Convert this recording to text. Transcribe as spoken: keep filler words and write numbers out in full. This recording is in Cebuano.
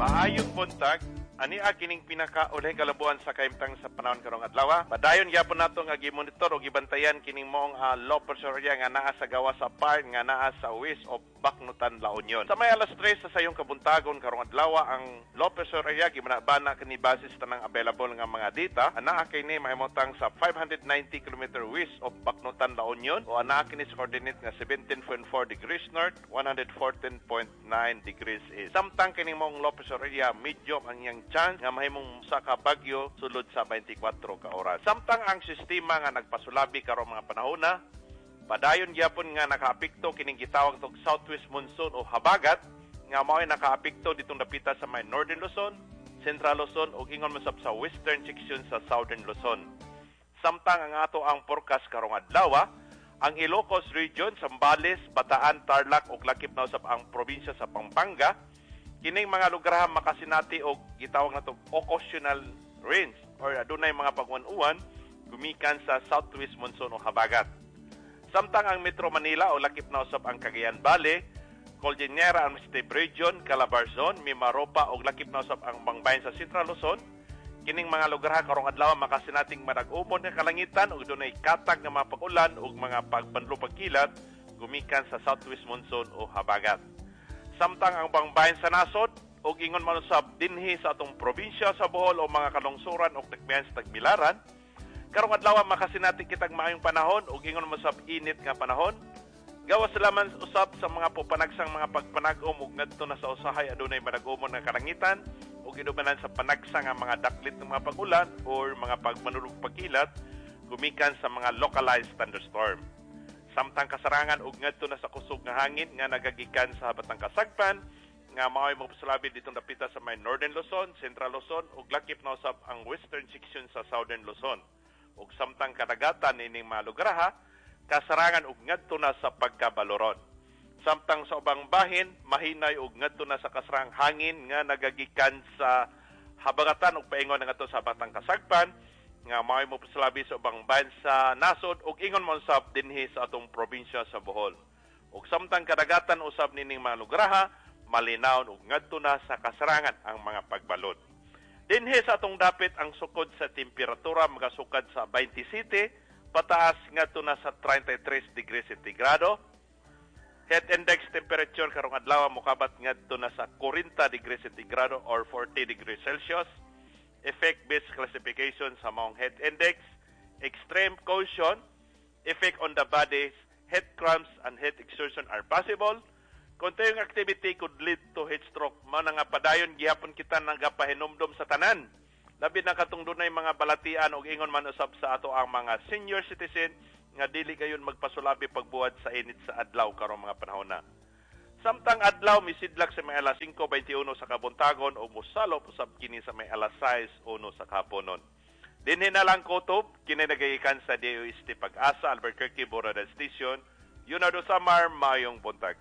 Maayong buntag, ani kining pinaka ulahing kalabuan sa kahimtang sa panahon karong adlaw. Padayon gyapon nato nga gimonitor o gibantayan kining maong uh, low pressure area nga naa sa gawas sa part nga naa sa west of Bacnotan, La Union. Sa may alas tres sa sayong kabuntagon karong adlaw, ang low pressure area gibanabana kini base sa tanang available nga mga data. Anaa kini mahimutang sa five hundred ninety kilometer west of Bacnotan, La Union o anaa kini sa coordinate nga seventeen point four degrees north, one hundred fourteen point nine degrees east. Samtang kining maong low pressure area, medium ang iyang chance nga mahimong sa ka bagyo sulod sa twenty-four ka oras. Samtang ang sistema nga nagpasulabi karong mga panahona, padayon gyapon nga nakaapekto kining gitawag tog southwest monsoon o habagat nga mao'y nakaapekto ditong dapita sa may Northern Luzon, Central Luzon ug ingon man sab sa western section sa Southern Luzon. Samtang ang ato ang forecast karong adlaw, ang Ilocos Region, Zambales, Bataan, Tarlac ug lakip na usab ang probinsya sa Pampanga, kining mga lugar makasinati og gitawag nato occasional rains or adunay mga pagwan-uwan gumikan sa southwest monsoon o habagat. Samtang ang Metro Manila o lakip na usab ang Cagayan Valley, Cordillera Administrative Region, Calabarzon, Mimaropa o lakip na usab ang Bangbayan sa Central Luzon, kining mga lugar karong adlaw makasinating madag-umon nga kalangitan ug dunay katag nga mga pag-ulan ug mga pagbanlo pagkilat gumikan sa southwest monsoon o habagat. Samtang ang bangbayan sa nasod ug ingon man usab dinhi sa atong probinsya sa Bohol o mga kalungsuran ug dakbayan sa Tagbilaran, karong adlaw makasinati kitag maayong panahon ug ingon man usab init nga panahon. Gawas laman usab sa mga pupanagsang mga pagpanag-om ug ngadto na sa usahay adunay madag-umon nga kalangitan ug inubanan sa panagsang nga mga daklit ng mga pag-ulan or mga pagmanulog pagkilat gumikan sa mga localized thunderstorm. Samtang kasarangan ug ngadto na sa kusog nga hangin nga nagagikan sa habatang kasagpan nga mao'y mopasulabi ditong dapita sa may Northern Luzon, Central Luzon ug lakip na usab ang western section sa Southern Luzon. Ug samtang kadagatan nining mga lugarha, kasarangan ug ngadto na sa pagkabaloron. Samtang sa ubang bahin, mahinay ug ngadto na sa kasarang hangin nga nagagikan sa habagatan ug paingon ngadto sa batang kasagpan nga mao'y mopasulabi sa ubang bahin sa nasod ug ingon man usab dinhi sa atong probinsya sa Bohol. Ug samtang kadagatan usab nining mga lugarha, malinawon ug ngadto na sa kasarangan ang mga pagbalod. Dinhi sa atong dapit, ang sukod sa temperatura magasukad sa twenty-seven pataas ngadto na sa thirty-three degrees sentigrado. Heat index temperature karong adlaw mokabat ngadto na sa forty degrees sentigrado or forty degrees Celsius. Effect-based classification sa maong heat index, extreme caution, effect on the body, heat cramps and heat exertion are possible. Continuing activity could lead to heat stroke. Mao na nga padayon gihapon kita nagapahinumdom sa tanan. Labi na katong dunay mga balatian og ingon man usab sa ato ang mga senior citizen nga dili kayon magpasulabi pagbuhat sa init sa adlaw karong mga panahon na. Samtang adlaw misidlak sa may alas singko twenty-one sa kabuntagon o mosalop usab kini sa may alas sais oh one sa kahaponon. Dinhi na lang kutob, kini nagagikan sa D O S T Pag-asa, Albuquerque, Borada Station, Leonardo Samar, maayong buntag.